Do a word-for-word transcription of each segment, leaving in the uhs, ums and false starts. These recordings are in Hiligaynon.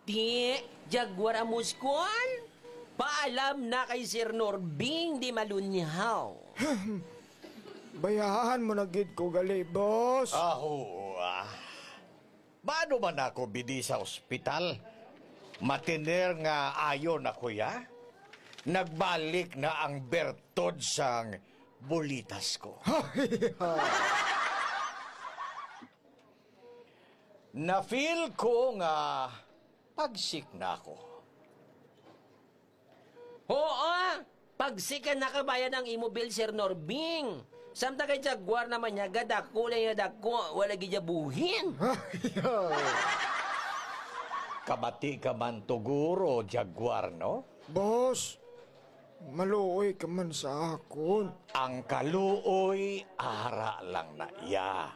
Di, Jaguar Amuskol, paalam na kay Sir Norbing di malunyaw. Bayahan mo na gid ko gali, boss. Aho, ah. Maano man ako bidi sa ospital? Matiner nga ayo na, kuya. Nagbalik na ang bertod sang bulitas ko. Na-feel ko nga pagsik na ako. Oo, pagsik ka nakabayad ang imo bill, Sir Norbing. Samtang kay Jaguar naman niya, gadako lang niya dako, wala gid niya buhin. Kabati ka man tuguro, Jaguar, no? Boss, maluoy ka man sa akon. Ang kaluoy, ara lang na iya.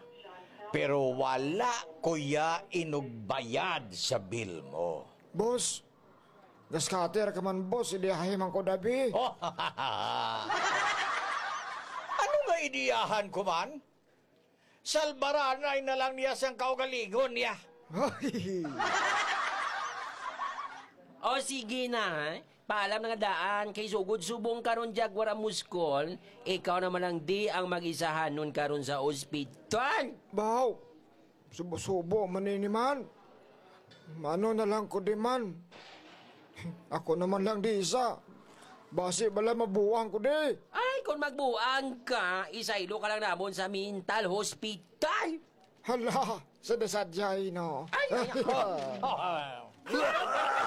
Pero wala ko ya inugbayad sa bill mo. Boss, gaskater ka man, boss, idiyahe man ko dabi. Ano nga idiyahan ko man? Salbaranay na lang niya sang kaugalingon niya. Ay. O sige na, ha? Paalam na nga daan, kay sugod subong karon, Jaguar Amuskol, ikaw naman lang di ang mag-isahanon karon sa ospital. Baw, subo-subo man ini man. Mano na lang ko di man. Ako naman lang di isa. Basi bala mabuang ko di. Ay, kung magbuang ka, isaylo ka lang namon sa mental hospital. Hala, sa dasadjay, no? Ay, ay, ay.